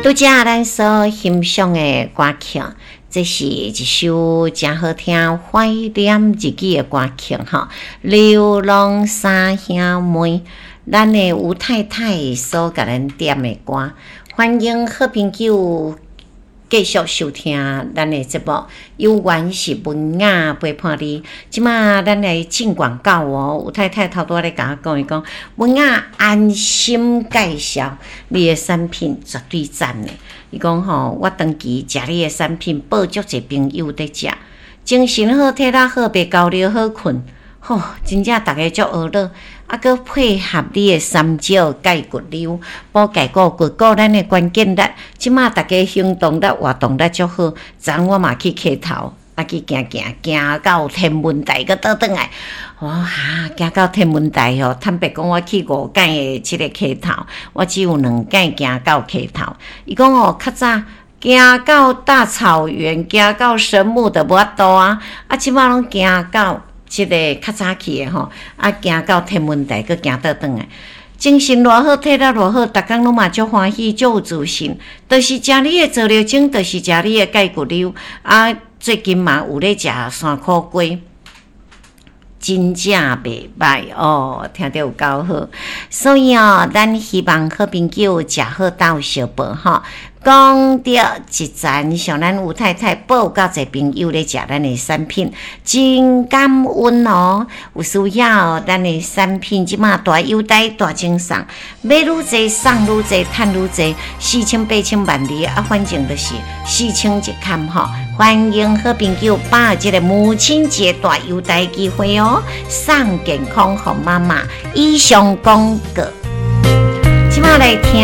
拄才咱所欣賞的歌曲，這是一首誠好聽、懷念日語的歌曲吼。流浪三兄妹，咱的吳太太所共咱點的歌，歡迎好朋友繼續收聽咱的節目，有緣是文雅陪伴你。這馬咱來進廣告哦。吳太太頭拄仔咧共我講，伊講文雅安心介紹你的產品絕對讚的。伊講吼，我長期食你的產品，報足濟朋友佇食，精神好，體力好，袂焦慮，好睏。吼，真正逐家足呵咾，啊，閣配合你的三焦鈣骨溜，補鈣骨骨骨咱的關鍵力。這馬逐家行動力、活動力足好。昨昏我嘛去溪頭，啊去行行，行到天文台，閣倒轉來。我哈，行到天文台吼，坦白講，我去五擺的這个溪頭，我只有兩擺行到溪頭。伊講哦，較早行到大草原，行到神木就無法度啊，啊，這馬攏行到。這个較早去的吼，啊，行到天文台，閣行倒轉來，精神偌好，體力偌好，逐工攏嘛足歡喜，足有自信。就是食你的皂料精，就是食你的鈣骨溜。啊，最近嘛有咧食山苦瓜，真正袂䆀哦，聽著有夠好。所以哦，咱希望好朋友食好鬥相報吼。講著一層，像咱吳太太報夠濟朋友咧食咱的產品，真感恩哦。有需要咱的產品，這馬大優待大贈送，買愈濟送愈濟，趁愈濟，四千八千萬里啊，反正就是四千一崁吼。歡迎好朋友把握這个母親節大優待機會哦，送健康予媽媽。以上廣告，這馬來聽。